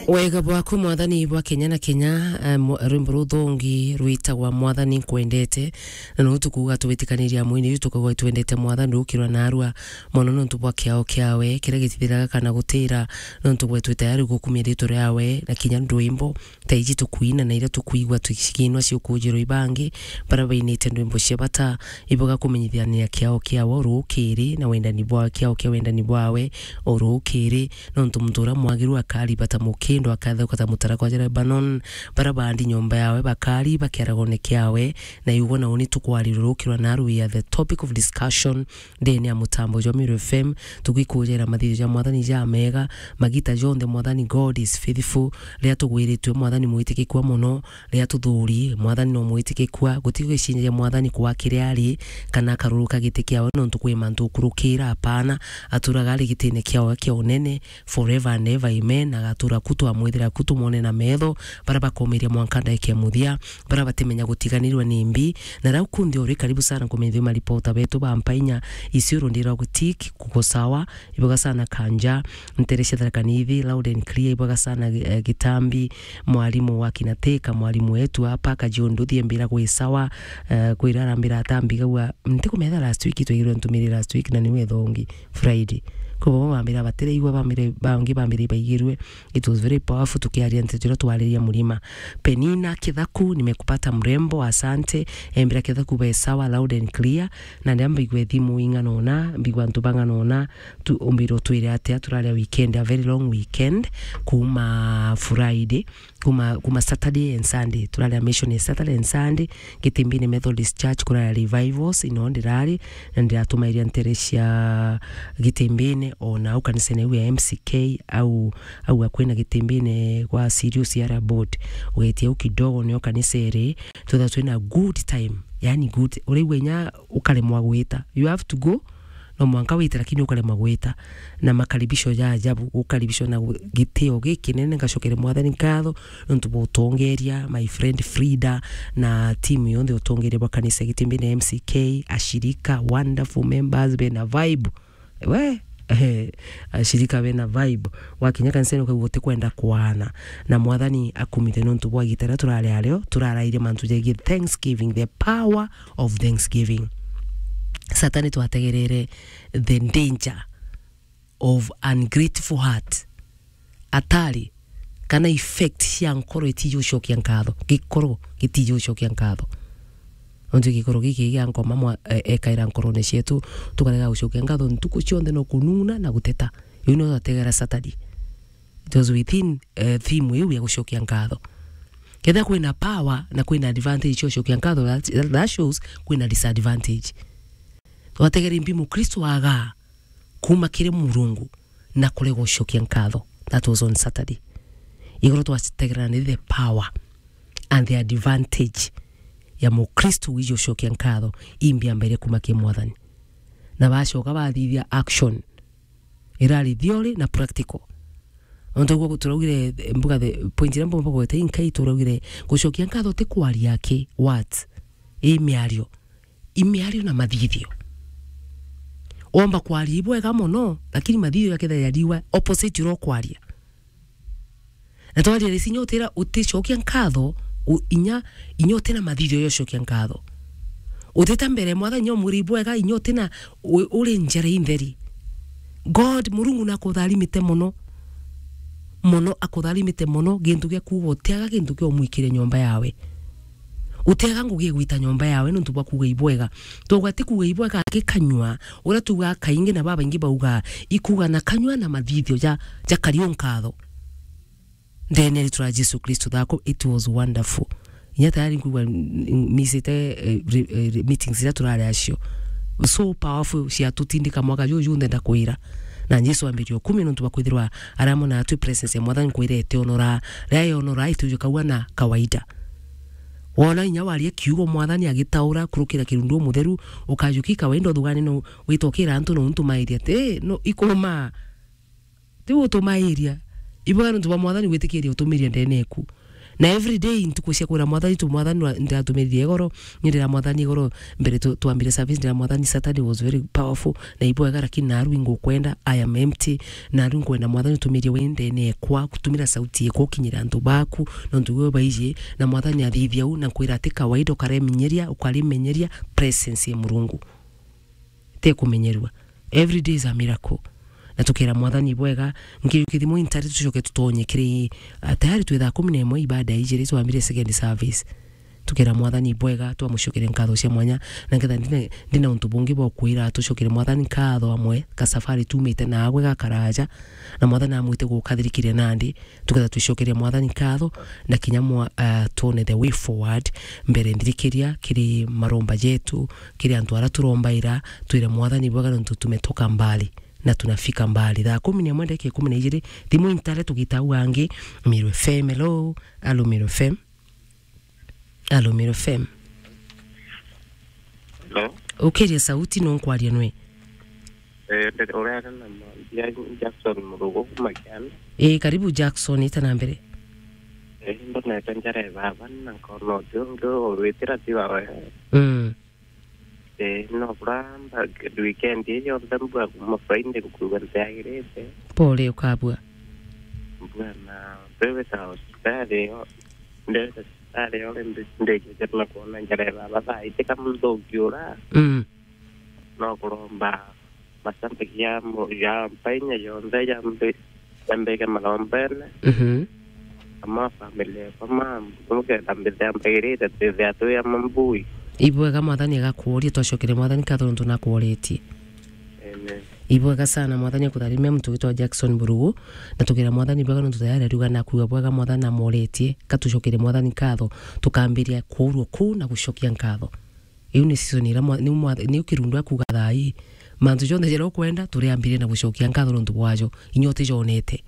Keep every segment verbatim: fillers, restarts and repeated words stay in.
Wega bwaku, Mwathani, bwa kenya na kenya. Eh, mwa-, rwimbo ruthongi rwitagwa Mwathani Nkwendete, na no tukuuga twitikaniria mwini ju tukauga twendete Mwathani rukirwa narua mono nontu bwa kiao kiawe kiria gitithiraga kana gutira, nontu gwe twi tayari gukumia ritwa riawe na kinya ndwimbo ta iji tukwina na iria tukwigua tucikinwa ciukujirwa ibangi, bara bainite ndwimbo cia bata, iboga kumenyithania kiao kiawe o rukiri na wendani bwawe, kiao kia wendani bwawe o rukiri, nontu muntu uria mwagiru akariba ta mukindo, akatheuka ta mutarakwa ja Lebanon, bara baandi nyomba yawe bakari bakiaragone kiawe, na igwe na uni tukwarirwa rukirwa naru we are the topic of discussion ndene ya mutambo jwa Miru F M, tugikujera mathithio ja Mwathani ja mega, magita jonthe Mwathani God is faithful, riria tugwiritue Mwathani mwitikikua mono, riria tuthuri, Mwathani no mwitikikua, guti gwicinjagia Mwathani kwa kiria ari, kana akaruruka giti kiawe nontu kwi mantu ukurukira, apana, aturaga ari gitine kiawe kia unene, forever and ever, amen, agatura ku twamwithira ku tumwone na metho, bara bakomiria mwanka ndaika ya muthia, bara batimenya gutiganirwa ni mbi, na rau kundi uri karibu sana kumenyithia maripota betu ba mpainya, Isiolo ndirwa gutik, kuko sawa, iboga sana Kanja, ntere cia Tharaka Nithi, loud and clear, iboga sana, eh, Gitambi, mwalimu wa Kinateka, mwalimu wetu hapa, Kajiundu, thiembira gwi sawa, eh, kwira arambira atambi gaua, ntikumenya last week, twigirwe ntumiri last week, na niwe thongi, Friday. Kwa bo bambira batiraigua, bambire, bangi bambire baigirwe, it was very powerful, tukiaria nteto iria twariria murima. Penina Kithaku, nimekupata mrembo, asante, embira Kithaku be sawa, loud and clear, na ndia mbigwe thimu ing'ana ona, mbigwa antu bang'ana ona, tu, umbire utwire atia, turaria weekend, a very long weekend, kuma Friday, kuma, kuma Saturday and Sunday, turaria mission ya Saturday and Sunday, Gitimbini Methodist Church, kuraria revivals, ino ndirari, na ndiratumairia ntere cia Gitimbini, ona au kanisene au ya M C K, au, au akwina Gitimbini kwa Sirius Yara Board, ugetia au kidogo nio kanisa iri, twitha twina good time, yani good, uraigua inya ukaremwa gwita, you have to go, no mwanka wite, lakini ukaremwa gwita. Na makaribisho ja ajabu, gukaribishwa na gu-, gitio gikinene, ngacokere Mwathani nkatho nontu bwa utongeria, my friend Frida na timu yonthe utongeria bwa kanisa Gitimbini M C K, ashirika, wonderful members, bena vibe. We, eh, ashirika bena vibe. Wakinya kanisani ukaigua utikwenda kwana. Na Mwathani akumithe nontu bwa igita riria turari ario, turarairie mantu jegie thanksgiving, the power of thanksgiving. Satani twategerere the danger of ungrateful heart. Atari, kana effect cia nkoro itiji gucokia nkatho, gikoro gitiji gucokia nkatho. Nontu gikoro giki gia nkoma mwa-, e-, ekaira nkorone cietu, tukarega gucokia nkatho ntuku cionthe no kunung'una na guteta. Iu nio twategera Satani. It was within, eh, theme iu ya gucokia nkatho. Kethira kwina power na kwina advantage cia gucokia nkatho, that, that shows kwina disadvantage. Twategere mbi Mukristo aga kuma kiri Murungu na kurega gucokia nkatho. That was on Saturday. Igoro twategerera ni the power and the advantage ya Mukristo wiji gucokia nkatho imbi ambaire kuma ki Mwathani. Na bacoka bathithia action. Irari theory na practical. Ontu guo turaugire, mbuga the point iria mbomba gweta inkai turaugire gucokia nkatho ti kwaria ki, what? I miario. I miario na mathithio. Womba kwaria ibwega mono, lakini mathithio jakethira jariwa opposite uria ukwaria. Na twaria risi inya utira uticokia nkatho, u-, inya, inya utina mathithio ya ucokia nkatho. Utita mbere Mwathani inya umwire ibwega, inya utina u-, uri njira intheri. God, Murungu nakutharimite mono. Mono akutharimite mono, gintu gia kuuga utiaga gintu kia umwikire nyomba yawe. Utiaga ngugi igwita nyomba yawe nontu bwa kuuga ibwega. Twauga ti kuuga ibwega gikanyua, uria tuugaga kaingi na babaingi baugaa, ikuuga na kanyua na mathithio ja, jakari o nkatho. Ndene ya ritwa ria Jesu Kristo thako, it was wonderful. Inya tayari nkuigua n-, n-, misite, eh, re-, eh, re-, meetings iria turari acio. So powerful, ciatutindika mwaka juju junthe ndakwira. Na Jesu ambirie ukumia nontu bwa kwithirwa aramona atwi presence ya Mwathani kwire ete onora. Riria yonora, itujukaua na kawaida. Wona inya waria kiugo Mwathani agitaura kurukira kirundu umutheru, ukajuki kawaida uthugane no witokira antu no untu mairia. Ti, no, ikuma. Ti utumairia. Ibwega nontu bwa Mwathani gwitikiria utumiria ndene eku. Na every day ntuku cia kwira Mwathani tu, Mwathani wa-, ndiratumiririe igoro, ni ndira Mwathani igoro mbere tu-, twambire service, ndira Mwathani Saturday was very powerful, na ibwega, lakini naru ingukwenda, I am empty, naru nkwenda Mwathani utumirie we ndene ekwa, kutumira sauti ekwa ukinyira antu baku, nontu we baiji, na Mwathani athithia u, na nkwira ati kawaida ukareminyeria, ukarimenyeria presence ya Murungu. Tekumenyerua. Every day is a miracle. Na tukira Mwathani bwega, nki kithimo intari tucoke tutonye kiri, ah, tayari twi thaa kumi na imwe ibada ijiri twambire second service. Tukira Mwathani bwega, twamucokere nkatho cia mwanya, na ngetha ndine, ndina untu bungi bwa kwira, tucokere Mwathani nkatho amwe, ka safari tumite nagwe gakaraja, na Mwathani amwite gukathirikire nandi, tuketha twicokeria Mwathani nkatho, na kinya mwa-, ah, twone the way forward, mbere nthirikiria kiri maromba jetu, kiri antu ara turombaira, twire Mwathani bwega nontu tumetoka mbali na tunafika mbali. Thaa kumi na imwe ndagika ikumi na ijiri, thimu intare tugita au angi, Meru F M, hello, alo Meru F M. Alo Meru F M. Hello? Ukiria sauti no nkwaria nwe. Eh, nde-, uria ari na mwandia Jackson Murugo kuma Kianda. Eh, karibu Jackson, ita na mbere. Eh, ndonete njara ya baba na nkona uti ungi urwitira ti wawe. Mm. Eh, no kuramba weekend ii yonthe mbua kuma Friday nkuigua ntiagirite. Pole ukabua. Mbua na mbeweta hospitali yo, ndeweta hospitali yo rindi ndikite na kuona njara ya baba thaa iti kamuthuki ura. Mm. No kuromba mashabiki ya mu-, ya mpainya yonthe yambi-, yambike marombene. Mhm. Ama family yakwa ma, mukenda mbithambagirite twithia twi ama mbui. Ibwega Mwathani agakuuria, twacokere Mwathani nkatho nontu nakuoretie. Amen. Ibwega sana, Mwathani akutharimia muntu witwa Jackson Burugu, na tukira Mwathani bwega nontu tayari ariuga nakuuga bwega Mwathani namuoretie, katucokere Mwathani nkatho, tukambiria kuurua kuu na gucokia nkatho. Iu ni season ira mwa-, niu mwa-, niu kirundu akuuga thaa ii. Mantu jonthe jaria ukwenda, turiambirie na gucokia nkatho nontu bwajo, inya utijonete.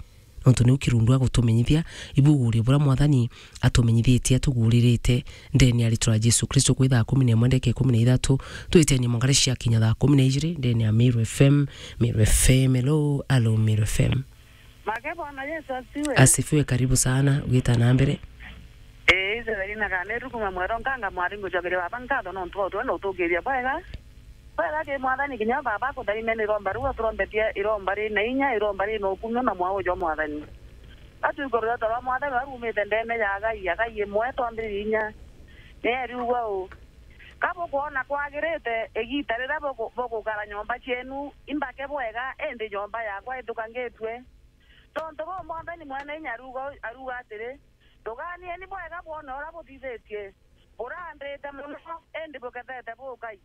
Nontu niu kirundu agutumenyithia, ibugurie buria Mwathani atumenyithitie, atuguririte, ndene ya ritwa ria Jesu Kristo, kwi thaa kumi na imwe ndagika ikumi na ithatu, twitenie mongare cia kinya thaa kumi na ijiri, ndene ya Meru F M, Meru F M, hello, alo, Meru F M. Make Bwana Yesu asifiwe. Asifiwe, karibu sana, ugita na mbere. Ee, Israeli na kana rukuma mwero nkanga mwari ngucokeria baba nkatho nontu wa utwe na utukiria bwega. Bwega ki Mwathani kinya baba akutharimia ni iromba riu aturombetie iromba ri na inya, iromba ri na ukumio na mwao jwa Mwathani. Atuikorera toro Mwathani arumite ndene ya Agai, Agai imwe twambiririe inya. Ni eriuga u, ka bukwona kwagirite igita riria buku-, bugukara nyomba cienu imbake bwega, indi nyomba yakwa ithukangitue. Tontu buu Mwathani Mwene Inya aruga, aruga atiri, tuganieni bwega bwone uria buthithitie. Burandite mono, indi bukethete bukai.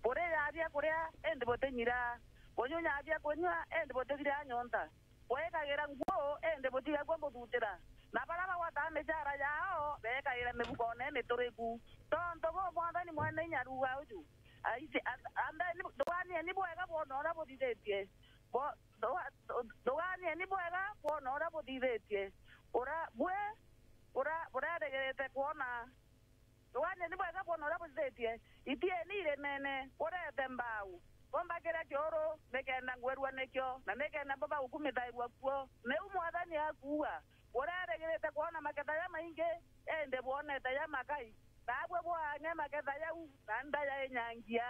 Burirya biakuria, indi butinyiraa. Bunyunyaa biakunyua, indi butithiraa nyonta. Bwikagira nguu, indi butigagua buthutira. Na baria bagwataa micara yao, beekagira mibukone imituriku. Tontu buu Mwathani Mwene Inya aruga uju, aisi, a-, ambeni, tuganieni bwega bwone uria buthithitie. Bo-, Thuga-, thu-, thuganieni bwega bwona uria buthithitie. Ura-, bwi, ura-, bureregerete kwona. Thuganieni bwega bwona uria buthithitie. Itieni irimene, burete mbau. Bumbakire kiuru, nikenda ngwirua nikio, na nikenda mbuba gukumithairua kuo. Niu Mwathani akuuga. Bureregerete kwona maketha jamaingi, indi bwonete jamakai. Naabwe bwaang'e maketha jau, na nda yainyangia.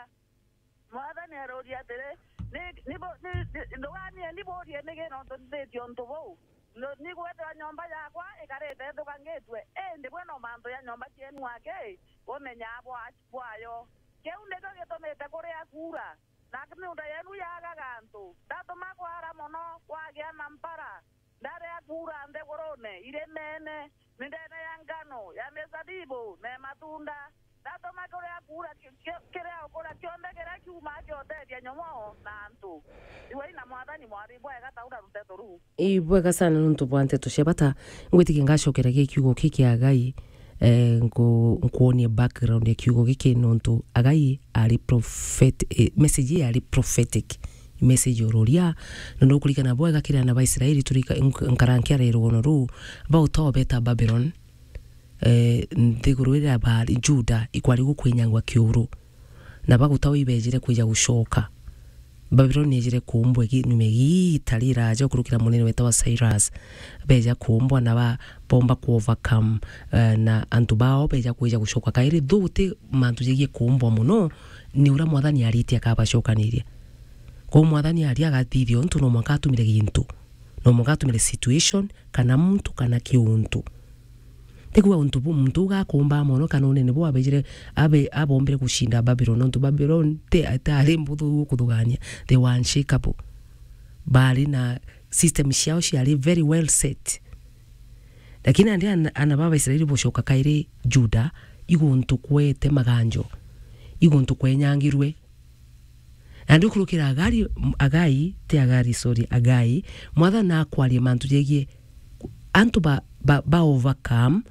Mwathani aruuria atiri, "Ni, ni bu-, ni, ni, nduganie, ni buurie nigi nontu nthithitie untu buu? Ni, ni gwethirwa nyomba yakwa ikarite ithukangitue, indi bwe no mantu ja nyomba cienu aki bumenyaa bwa-, bwayo. Kiu nikio gitumite kuria kuura, na miunda yenu yaagaga antu. Ndatuma kwaara mono, kwagia na mpara." Ndaria kuura nthigurune irimene, mindene ya ngano, ya mizabibu, na ya matunda. Ndatuma kuria kuura ki-, ki-, kiria ukuria kionthe kiria kiumaa kiotethia nyomo na antu. Igwai na Mwathani mwari bwega taura ruteto ruu. Ii, bwega sana nontu bwa nteto cia bata. Ngwitikia ngacokera gi kiugo ki kia Agai. Eh, nku-, nkuonie background ya kiugo giki nontu Agai ari prophet-, eh, message ii yari prophetic, message ururia, na nukurikana bwega kiri ana ba Israeli turika-, nk-, nkara nkiara rugono ruu, bauta obeta Babylon, eh, nthiguru iria bari Juda ikwari gukwinyangwa kiuru, na baguta ibejire kwija gucoka. Babylon yejire kuumbwa igi-, nyuma igiita riraja gukurukira munene wetagwa Cyrus. Beja kuumbwa na ba-, bomba ku overcome, eh, na antu bao beja kwija gucoka kairi. Though ti mantu jegie kuumbwa mono, ni uria Mwathani aritie akabacokaniria. Kwou Mwathani aria agathithia untu no mwanka atumire gintu. No mwanka atumire situation, kana muntu, kana kiuntu. Tikuga untu bu muntu uga akuumbaa mono kana unene bu abejire, abe-, abombire gucinda Babylon, nontu Babylon ti, itaari mbuthu gukuthugania. They were unshakable. Baari na system ciao ciari very well set. Lakini nandi ana, ana ba Baisraeli bucoka kairi Juda, iguntu kwete maganjo, iguntu kwenyangirwe. Na ndikurukira Agari, Agai, ti Agari, sorry, Agai, Mwathani nakwaria mantu jegie antu ba, ba, ba overcome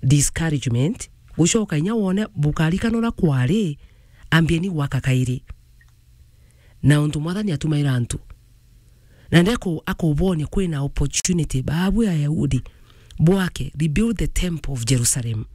discouragement, gucoka inya wone bukarikana uria kwari, ambieni gwaka kairi. Na untu Mwathani atumaira antu. Na ndeko akubonia kwina opportunity, babu Ayahudi, bwake, rebuild the temple of Jerusalem.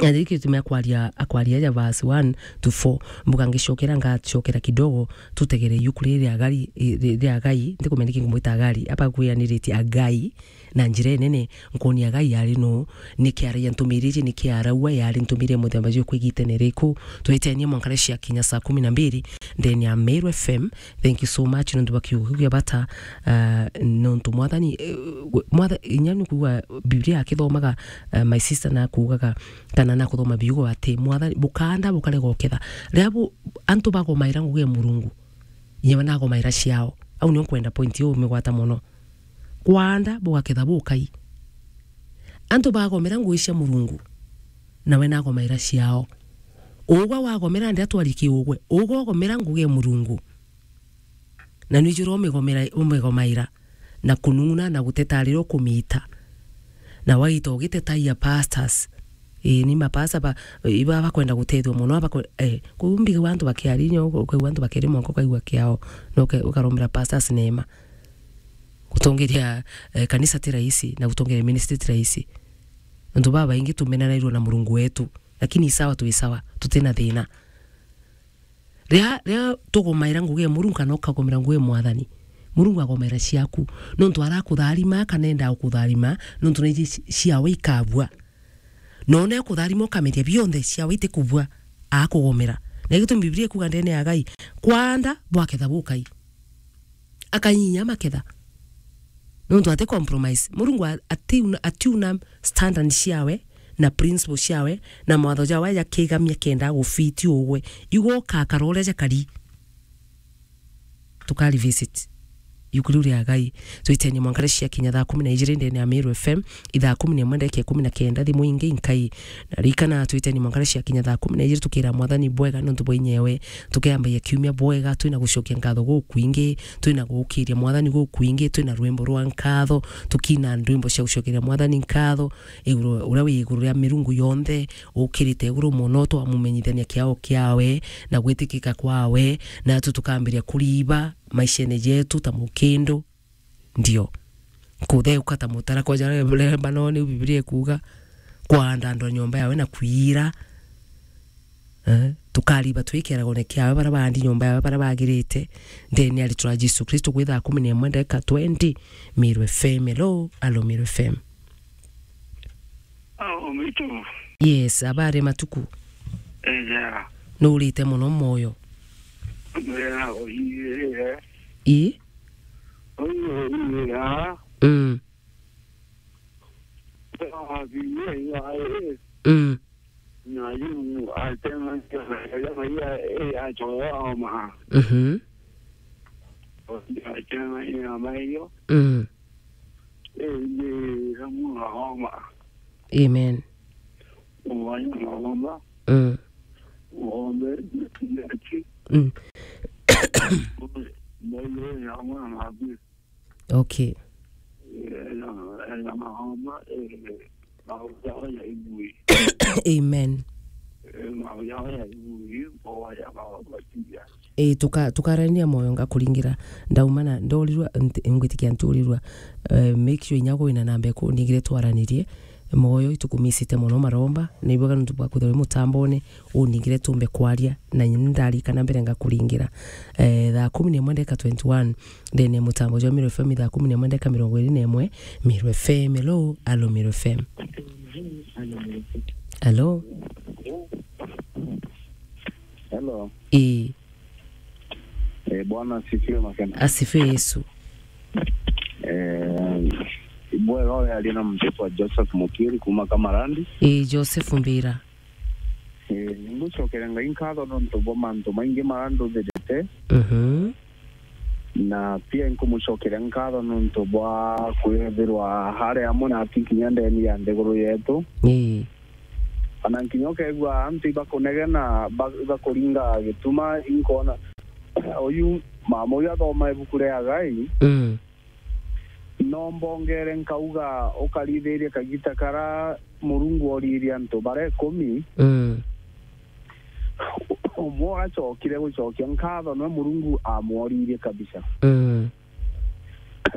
Na riki gitumi akwaria, akwaria ja verse one to four, mbuga ngicokera, ngacokera kidogo, tutegere yuku riri ria Agari, ri-, ria Agai, ndikumenya niki ngumwita Agari, aba kwianiritie Agai, na njira inene, nkoni Agai yari nu, niki araia ntumiri iji, niki araua, yari ntumiri ya muthemba juriku igitene riku, twitenie mwanka riria ciakinya saa kumi na mbiri, ndene ya Meru F M, thank you so much, nontu bwa kiugo kiu kia bata, ah, nontu Mwathani, eh, Mwatha-, inya ni kuuga Biblia akithomaga, eh, my sister nakuugaga, kana nakuthoma biugo ati, Mwathani, bukaanda bukarega uketha. Riria bu-, antu bagomaira ngugi ya Murungu, inya we nagomaira ciao. Au nio nkwenda point iu umigwata mono. Kwaanda bugaketha bukai. Antu bagomera ngugi cia Murungu, nawe nagomaira ciao. Ugwe wagomera ndi atwari kiugwe, ugwe ugomera ngugi ya Murungu. Na nwijura umigomera, umigomaira, na kunung'una na guteta riria ukumita. Na waita ugitetagia pastors. Ii, ni mapasta ba, iba bakwenda gutethua mono, bakwe-, eh, kwou mbigagua antu bakiaria, inya ukaigua antu bakiaria mwanka ukaigua kiao, na uke-, ukarombera pastors neema. Gutongeria, eh, kanisa ti rahisi, na gutongeria ministry ti rahisi. Antu babaingi tumenanairwe na Murungu wetu, lakini sawa, twi sawa, tutina thina. Riria, riria tugomaira ngugi ya Murungu kana ukagomera ngugi ya Mwathani, Murungu agomera ciaku. Nontu arakutharima, kana enda gukutharima, nontu naiji ci-, ciawe ikabua. Na ona ekutharima ukameria bionthe, ciawe itikubua, akugomera. Na gitumi Biblia ikuga ndene ya Ngai, kwanda bwaketha bukai. Akanyinya maketha. Nontu ati compromise. Murungu a-, atiuna, atiuna standard ciawe, na principle ciawe, na mawatho jawe jakigamia kenda gufiti ugwe. Igwe ukakara uria jakari. Tukari visit. Yuku riu ria Ngai. Twitenie mwanka riria ciakinya thaa kumi na ijiri ndene ya Meru F M, ithaa kumi na imwe ndagika ikumi na kenda, thimu ingi inkai. Na ririkana, twitenie mwanka riria ciakinya thaa kumi na ijiri, tukira Mwathani bwega nontu bwa inyewe. Tukiambagia kiumia bwega, twina gucokia nkatho gukwingi, twina gukiria Mwathani gukwingi, twina rwimbo rwa nkatho, tukina ndwimbo cia gucokeria Mwathani nkatho, iguru, uria wi iguru ria mirungu yonthe, ukirite iguru mono, twamumenyithania kiao kiawe, na gwitikika kwawe, natu tukambiria kuriba maishene jetu ta mukindo. Ndio. Kutheuka ta mutara kwa jara Lebanoni, Biblia ikuga, kwanda andu a nyomba yawe na kwira. Eh, tukariba twi kieragone kiawe, bara baandi nyomba yawe, bara bagirite. Ndene ya ritwa ria Jesu Kristo, gwi thaa kumi na imwe ndagika twenty, Meru F M, hello, alo Meru F M. Oh, Mitu. Yes, habari matuku. Eja. Nurite mono moyo. Mbeya, oiye. I? Oiye, oiye, ya. Mm. Mbeya, oiye, ya, eh. Mm. Na yu atema, ya, ya, eh, achoya oma. Mhm. Atema, ya, mayo. Mm. Eh, ni, na mwa homa. Amen. Mwa homa. Mm. Ng'ombe, nyati. Mm. Mwa homa, mwa homa. Okay. Eh, na, eh, na mahoma, eh, mahoma ya ibui. Amen. Eh, mahoma ya ibui, mboya, mahoma, tia. Eh, tuka-, tukarania moyo ngakuringira. Ndauma na ndorirwa, nti-, ngwitikia nturirwa. Eh, make sure inya gwina namba iku ningire twaranirie. Moyo, itukumisite mono maromba, na ibwega nontu bwa kwithirwa wi mutambone, uningire tumbe kwaria, na nyini ndarikana mbere ngakuringira. Eh, thaa kumi na imwe ndeka twenty-one, ndene ya mutambo jwa Meru F M, thaa kumi na imwe ndeka mirongo iri na imwe, Meru F M, hello, alo Meru F M. Alo? Hello. Ii. Eh, Bwana asifiwe makena. Asifiwe Yesu. Eh, bwega, uyu aria na muntu witwa Joseph Mukiri kuma Kamarandi. Ii, Joseph Mbira. Eh, ningucokera Ngai nkatho nontu bwa mantu maingi maria nduthirite. Mhm. Na pia nkumucokeria nkatho nontu bwa kwithirwa ari amwe natu kinya ndeni ya nthiguru yetu. Ii. Ona nkinya ukeegua antu ibakunegena, ba-, ibakuringa gituma, inkwona uyu mama uyu athoma ibuku ria Agai, Mm. no mbongere nkauga ukarithirie kagita kara Murungu oririe antu bara ikumi, Mm. umwe uracokire gucokia nkatho niwe Murungu amworirie kabisa. Mm.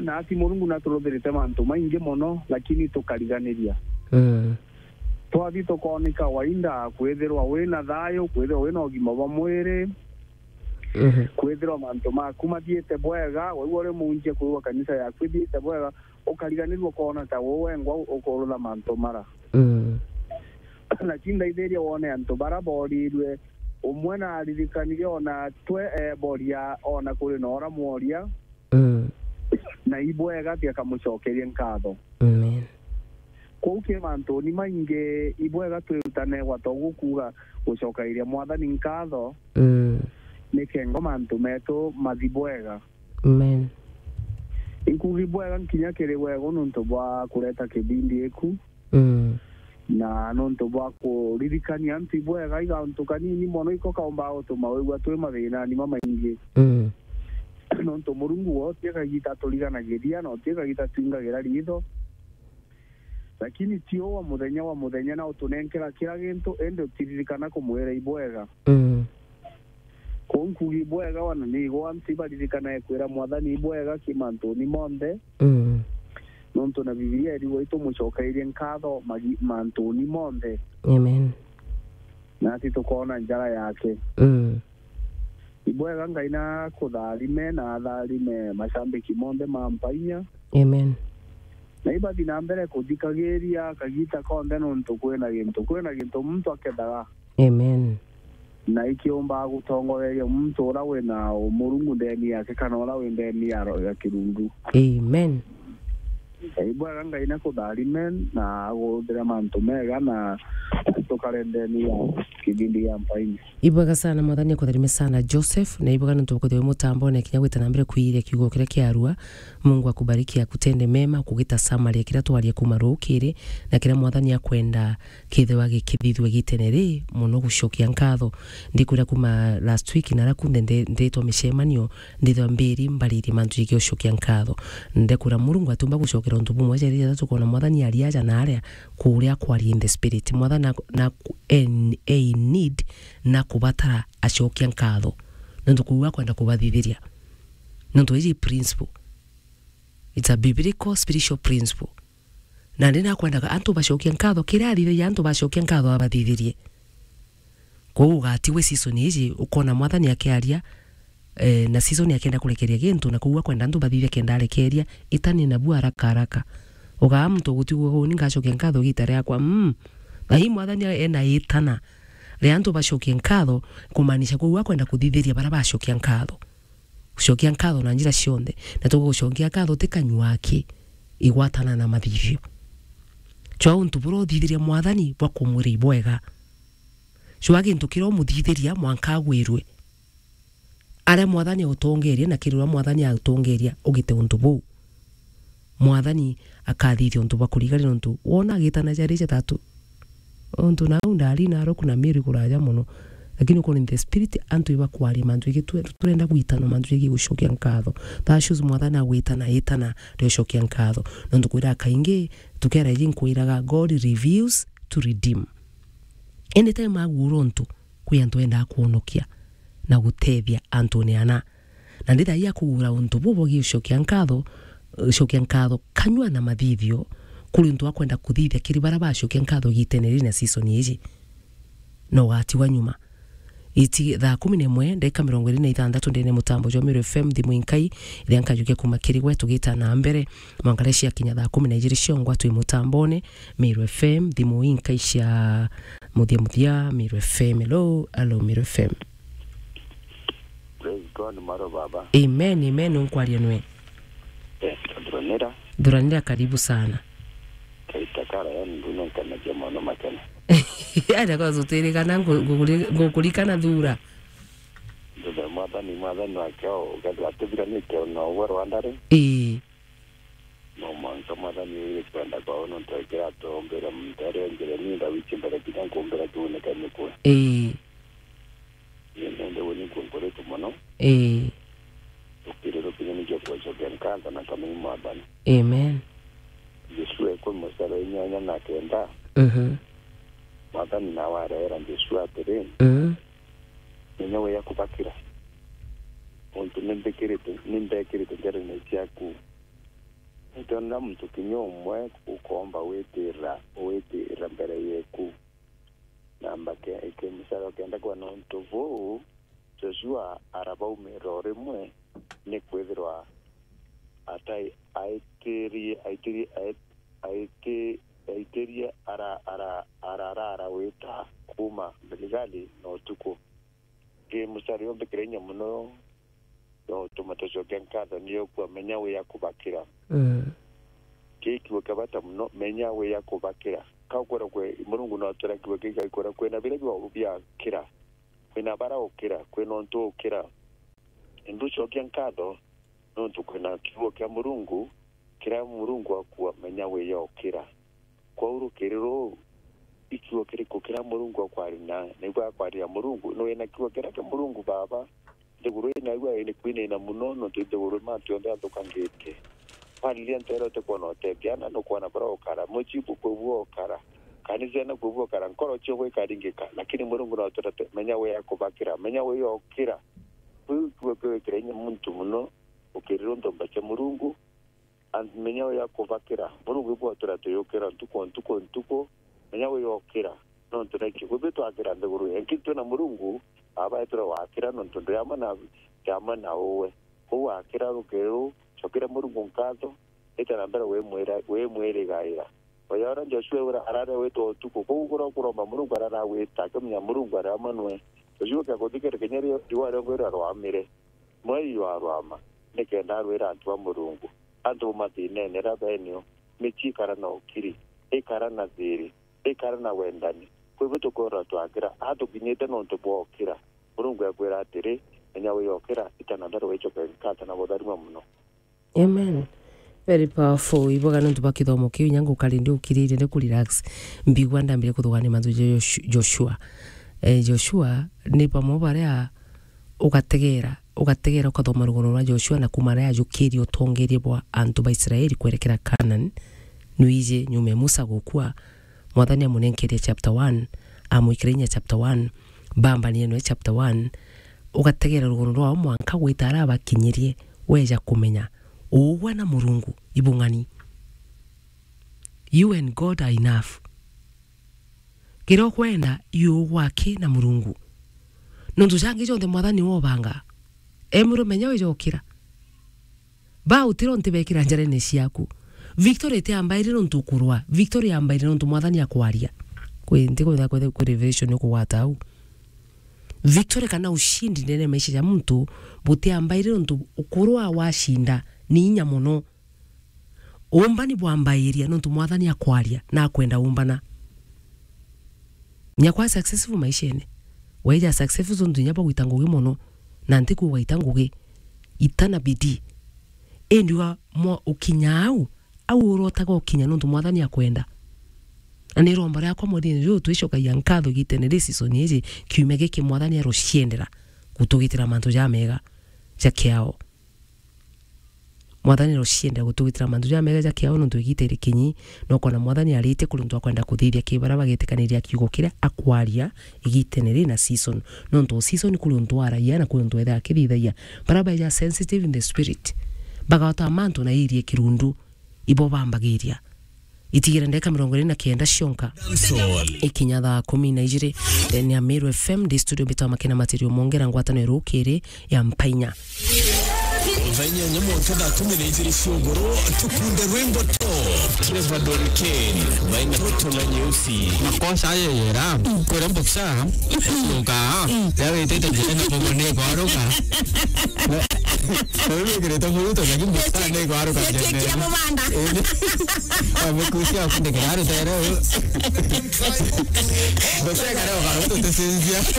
Na ati Murungu naturuthirite mantu maingi mono, lakini tukariganiria. Mm. Twathi tukonika wainda kwithirwa wina thayu, kwithirwa wina ugima bwa mwiri, Mhm. kwithirwa mantu maku mathiite bwega, waigua uri munjia kwigua kanisa yaku ithiite bwega, ukariganirua ukoona ta we wengwa ukurutha mantu mara. Mm. Lakini ndaithiria wone antu bara borirue, umwe naririkanire ona twe eboria, ona kuri na ura mworia, Mm. na ibwega ti akamucokerie nkatho. Amen. Kwou ki mantuni maingi, ibwega twirutane gwata uguo kuuga gucokairia Mwathani nkatho, Mm. ni kengo mantu metu mathi bwega. Amen. Inkuuga ibwega nkinya kiri wego nontu bwa kureta kibindi iku. Mm. Na nontu bwa kuririkania antu ibwega, igauntu kanini mono iko kaumba gutuma wigua twi mathinani mamaingi. Mm. Nontu Murungu wo ti kagita aturiganagiria, na ti kagita twingagira ritho. Lakini ti o wa muthenya wa muthenya na utunenkera kira gintu, indi utiririkana kumwira ibwega. Mm. Kwou nkuuga ibwega, wana ni igwa antu ibaririkanae kwira Mwathani ibwega ki mantuni monthe. Mm. Nontu na Bibilia irigwa itumucokairie nkatho magi-, mantuni monthe. Amen. Nasi tukoona njara yake. Mm. Ibwega Ngai na kutharime na atharime macambiki monthe ma Mpainya. Amen. Na ibathi na mbere kuthikagiria kagita konthe nontu kwina gintu, kwina gintu muntu akethaga. Amen. Na ikiumba gutongoreria muntu ura wina Murungu ndeni yake kana ura wi ndeni ya ro-, ya kirungu. Amen. Ibwega Ngai na kutharime na aguthire mantu mega na tukare ndeni ya kibindi ya Mpainya. Ibwega sana, Mwathani akutharime sana Joseph, na ibwega nontu bwa kwithirwa wi mutambone kinya gwita na mbere kwiria kiugo kiria kiarua. Mungu akubariki, akutende mema, kugita summary ya kiria twaria kuma rukiri, na kiria Mwathani akwenda kithirwa gikithithua gitene ri mono gucokia nkatho. Ndikwira kuma last week na ara kunthe ndi-, nditwa micemanio, ndithwa mbiri mbaririe mantu jegii gucokia nkatho. Ndekura Murungu atumba gucokera untu bumwe jari jathatu, kwona Mwathani ari aja na aria kuria kwaria in the spirit. Mwathani na, na ku-, en-, e in need na kubatara acokia nkatho. Nontu kuu akwenda kubathithiria. Nontu iji principle. It's a biblical spiritual principle. Na ndi nakwendaga antu bacokia nkatho, kiria athithagia antu bacokia nkatho abathithirie. Kwou ugatigwe season iji, ukona Mwathani akiaria, eh, na season akienda kurekeria gintu, na kwou akwenda antu bathithia kenda arekeria, itani nabu haraka haraka. Ugaa muntu ugutigwa uu, ni ngacokia nkatho igita riakwa, mm. Na ii Mwathani ena itana ria antu bacokie nkatho, kumaanisha kwou akwenda kuthithiria baria bacokia nkatho. Gucokia nkatho na njira cionthe, na tugucokia nkatho ti kanyua aki, igwatana na mathithio. Cwa untu buria uthithiria Mwathani bwa kumwira ibwega. Cwa gintu kiria umuthithiria mwanka agwirue. Aria Mwathani autongeria na kiri uria Mwathani autongeria, ugite untu buu. Mwathani akathithia untu bwa kurigania, nontu wona agitana jari jathatu. Untu nau ndari na aroku na Mary kuraja mono. Lakini ukwona in the spirit, antu ibakwaria mantu jegii tu-, turenda gwitana mantu jegii gucokia nkatho. That shows Mwathani agwitana itana ria ucokia nkatho. Nontu kwira kaingi, tukera iji nkwiraga, God reveals to redeem. Anytime aguura untu, kwi antu endaa kwonokia na gutethia antune ana. Na ndi thaai akuguura untu buu bwegie ucokia nkatho, ucokia nkatho kanyua na mathithio, kuri untu wa kwenda kuthithia kiri baria bacokia nkatho igitene riri na season iji, na ugatigwa nyuma. Iti thaa kumi na imwe, ndagika mirongo iri na ithanthatu ndene mutambo jwa Meru F M, thimu inkai, iria nkajukia kuma kiri gwe tugita na mbere. Mwanka riria ciakinya thaa kumi na ijiri ciongwa twi mutambone, Meru F M, thimu inkai cia muthia muthia, Meru F M. Hello, hello, Meru F M. Praise God, maro baba. Amen, amen, unkwaria nwe. Eh, Thuranira. Thuranira, karibu sana. Kaita kara, yani, ndune nkanagia mono makena. Aja kwa zutirikana, ngu-, ngukuri-, ngukurikana thura. Ndune mwathani, mwathani wake o, ukethira atubiranite na uwe Rwanda ri. Ii. No mwanka mwathani wiri kwenda kwao, nontu ekira atombere muntu aria njira ni ndawichi mbere kinya nkumbira kiunike mikwe. Ii. Ni nende we ni nkunkuritwe mono. Ii. Ukiriro kinya nikio kwecokia nkatho na kamini mwathani. Amen. Joshua ikumi mustari wa inyanya na kenda. Mhm. Mwathani nawe areera Joshua atiri, Mm. Menya wia kubakira. Untu nimbikirite, nimbekirite njarene ciaku. Ntiona muntu kinya umwe ukomba witirira, witirira mbere yeku. Namba ke-, ke-, musara wa kenda kwa nontu buu, Joshua arabaumira o rimwe, nikwithirwa atai-, aitirie, aitirie, ai-, aiti-, aitirie ara-, ara-, ararara wita kuuma Giligali na utuku. Ki musari umbikire inya mono, no utuma tucokia nkatho, ni ukua menya wia kubakira. Mm. Ki kiugo kia bata mono, menya wia kubakira. Ka ukwira kwi Murungu no atwira kiugo kii, ka ikwira kwina biria bia-, biakira, kwina bara ukira, kwina untu ukira. Indi ucokia nkatho, nontu kwina kiugo kia Murungu, kiria Murungu akua, menya wia ukira. Kwou rukiri ruu, i kiugo kiriku kiria Murungu akwaria na, naigua akwaria Murungu, ni wina kiugo kiria kia Murungu baba, nthiguru ii naigua ni kwinina mono, nontu nthiguru mantu yonthe yathukangite. Kwariria nteere utikwona utethia, na nukwona buria ukara, mucii bukwi bwokara, kanisa na kwi bwokara, nkoro cio gwikaringika, lakini Murungu no atwira, menya wia kubakira, menya wia ukira. Kwiu kiugo kiu gikira inya muntu mono, ukirira untu mbacha Murungu, and menya wia kubakira. Murungu ibwatwira tuyukira ntuku, ntuku, ntuku, menya wia ukira. Nontu na ikio, kwi twakira nthiguru, lakini twina Murungu, aba etwira wakira, nontu ndi amwe na, ndi amwe na uwe. Kou wakira rukiri ruu, cokera Murungu nkatho, ita na mbere wimwira-, wimwirigaira. Oya uria Joshua ura-, arare witwa utuku, kou kuria kuromba Murungu arara wita, akimenya Murungu ari amwe nwe. Joshua kia kuthikira kinya ri-, riua riongo riria rwamire, mweri jwarwama, nikenda arwira antu ba Murungu, antu ba mathinene aria benio, micii ikara na ukiri, ikara na thiri, ikara na wendani. Kwi bu tukwirwa twakira, atukinyite nontu bwa ukira. Murungu ekwira atiri, menya wia ukira, ita na mbere wicoke nkatho na butharima mono. Amen. Very powerful. Ibwega nontu bwa kithomo kiu, inya ngukari ndi ukirire ndi ku relax. Mbigua ndambire kuthugania mantu ja Josh-, Joshua. Eh, Joshua ni bamwe baria ugategera, ugategera ukathoma rugano rwa Joshua na kuma aria ajukirie utongeria bwa antu ba Israeli kwerekera Canaan. Nwiji nyuma ya Musa gukua, Mwathani amunenkeria chapter one, amwikira inya chapter one, bambanire nwe chapter one, ugategera rugano rwao mwanka gwita aria abakinyirie, weja kumenya uugwa na Murungu ibung'ani. You and God are enough. Kiria ukwenda, you gwaki na Murungu. Nontu jangi jonthe Mwathani wobanga. Emuru menya wijokira. Ba utiro nti bekira njarene ciaku. Victory itiambaire nontu ukurwa. Victory yambaire nontu Mwathani akwaria. Kwi nti kwenda kwenda kwi revelation ukugwata au. Victory kana ushindi ndene maisha ya muntu butiambaire nontu ukurwa washinda ni inya mono. Uumbani bwambairia nontu Mwathani akwaria na akwenda uumbana. Nyakwa successful maishene. Weja successful nontu inya bagwita ngugi mono, na ntiku ugaita ngugi, ita na bidii. Indi wa mwa-, ukinya au, au urotaga ukinya nontu Mwathani akwenda. Na ni iromba riakwa mweri-ini riu twicokagia nkatho gitene ri season iji, kiumia giki Mwathani aruciendera gutugitira mantu jamega ja kiao. Mwathani no cienda gutugitira mantu jamega ja kiao nontu igita iri kinyi, na ukona Mwathani aritie kuri untu akwenda kuthithia ki baria bagetikaniria kiugo kiria akwaria igitene ri na season. Nontu o season kuri untu aragia na kuri untu ethaa akithithagia. Baria baeja sensitive in the spirit, bagota mantu na irie kirundu, ibo bambagiria. Itigire ndeka mirongo iri na kenda cionka. Dancehall. Ikinya thaa kumi na ijiri, ndene ya Meru F M, ndi studio mbitwa Makena Material Mongera, ngwatano ya rukiri ya Mpainya. Thaa inyanya mwanka thaa kumi na ijiri cia ugoro, tukunde rwimbo top. Trevor Don Kane, baina Ruto na Nyeusi. Makosa ayo yera, kore mboksa, yoka, ya wetete njira na bobo ne kwaruka. Na, na wewe kireta muruto, lakini mboksa ne kwaruka. Yetekia mubanda. Amekusia kunde kiraro tero. Mboksa kare kwaruka, tutesinzia.